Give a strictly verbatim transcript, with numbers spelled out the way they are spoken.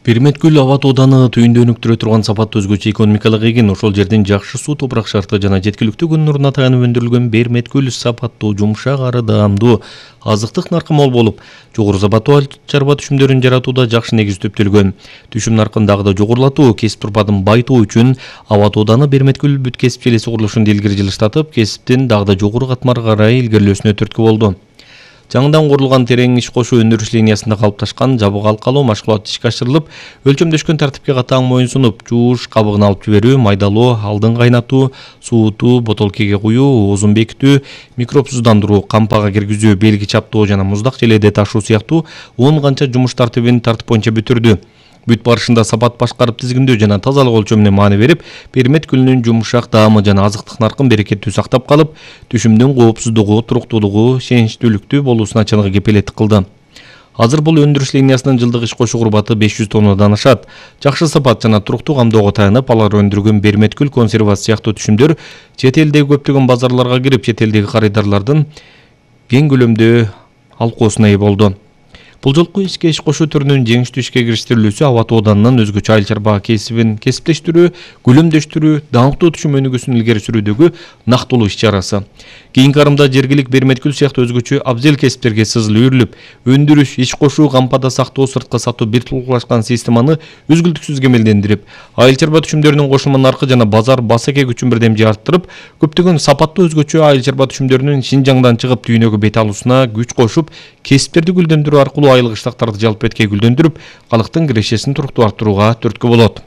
Берметкүл аба тооданы түйүндө өнүктүрө турган сапаттуу өзгөчө экономикалык эген, ошол жердин жакшы суу топурак шарты жана жеткиликтүү күн нурунна таянып өндүрүлгөн Берметкүл сапаттуу, жумшак ары даамдуу, азыктык наркы мол болуп, жогору сапаттуу айыл чарба түшүмдөрүн жаратууда жакшы негиз түптөлгөн. Түшүм наркын дагы да жогорулатуу, кесип турпадын байытуу үчүн аба тооданы Берметкүл бүт кесип желеси курулушун илгери жылыштатып, кесиптин дагы да жогору катмарга карай илгерилөөсүнө түрткү болду. Жаңыдан курулган терең иш кошуу өндүрүш линиясында калыпташкан жабык алкалоо машгулат ишке ашырылып, өлчөмдөшкөн тартипке катаң моюн сунуп, жууш, кабыгын алып жиберүү, майдалоо, алдын кайнатуу, суутуу, ботолкеге куюу, оозун бекитүү, микробсуздандыруу, кампага киргизүү, белги чаптоо жана муздак желеде ташуу сыяктуу он канча жумуш тартибин тартип боюнча бүтүрдү. Бүт барышында сапат башкарып тизгиндөө жана тазалык өлчөмүнө маани берип, Берметкүлүнүн жумшак даамы жана азыктык наркын берекеттүү сактап калып, түшүмдүн коопсуздугу, туруктуулугу, сеничтүүлүктүү болуусуна чыныгы кепилеттик кылды. Азыр бул өндүрүш линиясынын жылдык иш кошуу курбаты беш жүз тоннадан ашат. Жакшы сапат жана туруктуу камдоого таянып, алар өндүргөн Берметкүл консервасы сыяктуу түшүмдөр чет элдеги көптөгөн базарларга кирип, чет элдеги карыдарлардын кең көлөмдүү алкоосуна ээ болду. Бул жолку ишке иш кошуу түрүнүн жеңиштүү ишке кириштирилүүсү аба тооданын өзгөчө айыл чарба кесибин кесиптештирүү, күлөмдөштүрүү, даңктуу түшүм өнүгүүсүн илгери сүрүүдөгү нактылуу иш чарасы. Кийинки арымда жергилик Берметкүл сыяктуу өзгөчө абзел кесиптерге сызыл үйрүлүп, өндүрүш, иш кошуу, кампада сактоо, сыртка сатуу бир тулкулашкан системаны үзгүлтүксүз кемелдендирип, айыл чарба түшүмдөрүнүн кошулма наркы жана базар басеке күчүн бирдемже арттырып, көптөгөн сапаттуу өзгөчө айыл чарба түшүмдөрүнүн Шинжаңдан чыгып дүйнөгө бет алуусуна күч кошуп, кесиптерди гүлдөндүрүү аркылуу айыл кыштактарды жалпы эткей гүлдөндүрүп, калктын кирешесин туруктуу арттырууга түрткү болот.